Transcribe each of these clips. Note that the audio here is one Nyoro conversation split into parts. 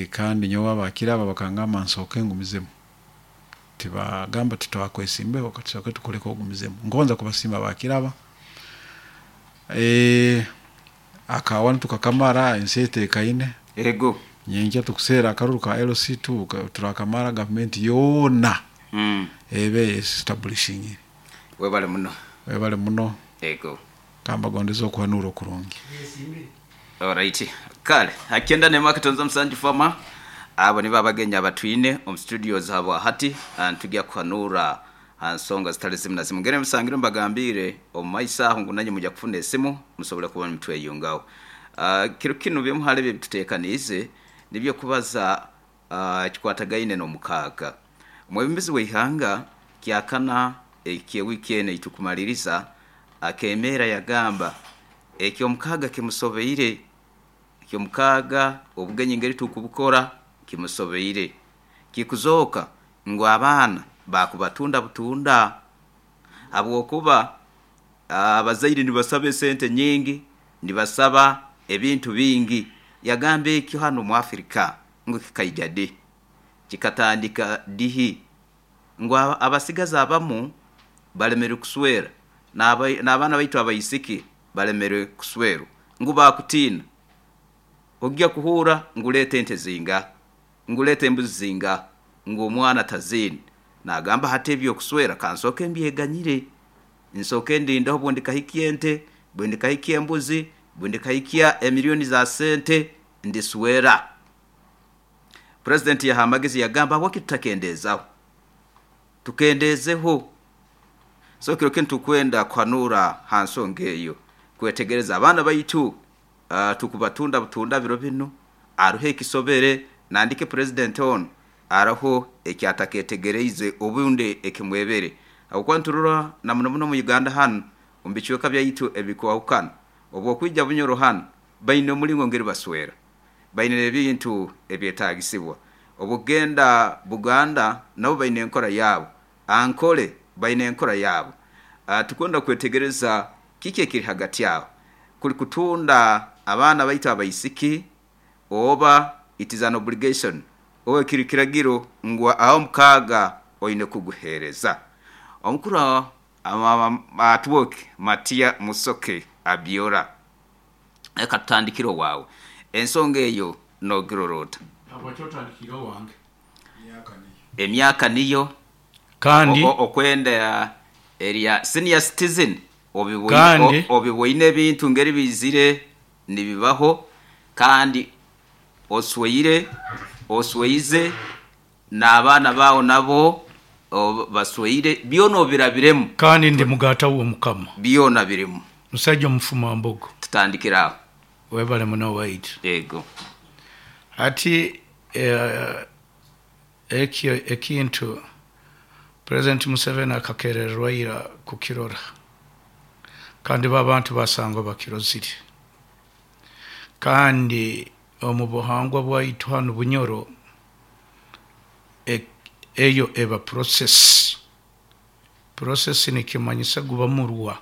Kandi nyowe abakiraba bakangamba nsooke ngumizemu, tibagamba titwakwesimbeho, katusooke tukuleke ogumizemu. Ngonza kubasiima abakiraba. Akawa tukakamara, ensi etekaine. Ego. Nyenkya tukuseera akaruru ka LC2 turakamara, gavumenti yoona ebe establishingire. Webale muno. Webale muno. Ego. Kambagondeze okuhanura okurungi. Alright. Kale, hakyenda n'emwe 7 fama. Abo nibo abagenyi abatwine omu studios habwa hati nitujya kuhanura ha nsonga zitali zimu na zimu. Ngere musangire mbagambiire omu maiso aho ngu nanye mujya kufuna esimu musobole kuba nimutweyungaho. Kiro kinu bimu hali ebyo ebituteekaniize nibyo kubaza ekikwatagaine n'omukaaga. Omwebembezi w'eihanga kyakana eky'ewiiki enu eitukumaliriza akemeera yagamba eky'omukaaga kimusobeire, eky'omukaaga obugenyi ngeri tukubukora kimusobeire. Kikuzooka ngu abaana bakubatunda butunda habwokuba abazaire nibasaba esente nyingi, nibasaba ebintu bingi. Yagamba ekyo hanu omu Afrika ngu kikaija di, kikatandika dihi, ngu abasigazi abamu balemere kuswera n'abaana baitu abaisiki balemere kuswerwa ngu bakutiina. Ojja kuhuura ngu leeta ente zinga, ngu leeta embuzi zinga, ngu omwana taziine. Nagamba hati eby'okuswera kansooke mbyeganyire, nsooke ndindeho bwendikahikya ente, bwendikahikya embuzi, bwendikahikya emiliyoni za sente ndiswera. Purezidenti yaha amagezi yagamba habwaki tutakendeezaho, tukendeezeho. So kiro kinu tukwenda kuhanura ha nsonga eyo, kwetegereza abaana baitu tukubatunda butunda biro binu, aruho ekisobere nandike purezidenti onu aroho ekyataketegereize obundi ekimwebere. Habwokuba niturora na muno muno omu Uganda hanu omu bicweka byaitu ebikwahukana, obwokwija Bunyoro hanu baine omulingo ngeri baswera, baine n'ebintu ebyetaagisibwa. Obwokugenda Buganda nabo baine enkora yaabo, Ankole baine enkora yaabo. Tukwenda kwetegereza kiki ekiri hagati aho, kuli kutunda abaana baitu abaisiki oba it is an obligation oba kiri kiragiro ngu aho mukaaga oine kuguheereza. Omukuru Atwoki Matia Musoke Abiora, reka tutandikire owaawe. Ensonga eyo noogirora ota? Habwaki otandikire owange? Emyaka niyo Kandi okwenda erya senior citizen kandi obiboine ebintu ngeri biizire nibibaho kandi osweire, osweize n'abaana baawe nabo basweire, byona obirabiremu. Kandi ndi mugaata w'Omukama. Byona birimu. Musaija omufumambogo. Tutandikire aho. Webale muno waitu. Ego. Hati ekyo ekintu President Museveni akakerererwa ira kukirora, kandi bo abantu basangwa bakirozire. Kandi omu buhangwa bwaitu hanu Bunyoro, eyo eba process. Process nikimanyisa guba murwa.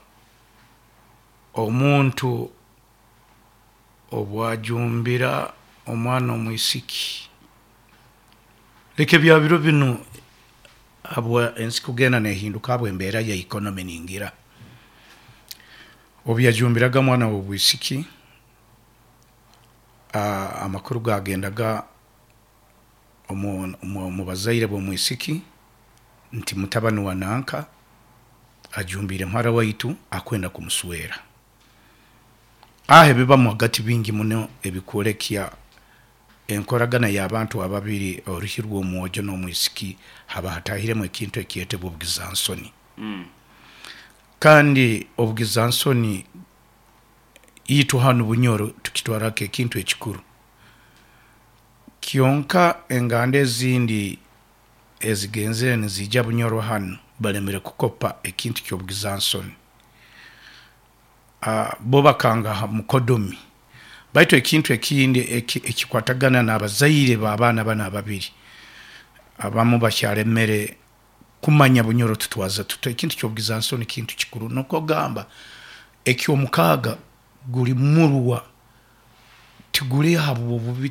Omuntu obwajumbira omwana omwisiki, leka ebya biro binu habwa ensi kugenda nehinduka habw'embeera ya economy ningira. Obu yajumbiraga omwana w'obwisiki, amakuru gagendaga omu bazaire b'omwisiki nti mutabani wa nanka ajumbiire muhara waitu akwenda kumuswera. Aho ebibamu hagati bingi muno ebikwolekya enkoragana y'abantu ababiri, oruhi rw'omwojo n'omwisiki, haba hatahiremu ekintu ekyetebwa obugizansoni. Kandi obugizansoni itwe hanu Bunyoro tukitwara nk'ekintu ekikuru. Kyonka enganda ezindi ezigenzere niziija Bunyoro hanu balemere kukopa ekintu ky'obugizansoni. Bo bakanga ha mukodomi. Baitu ekintu ekindi ekikwatagana n'abazaire b'abaana banu ababiri, abamu bakyalemere kumanya Bunyoro tutwaza tuta. Ekintu ky'obugizansoni kintu kikuru. Nukwo kugamba eky'omukaaga guli murwa, tiguli habw'obubi.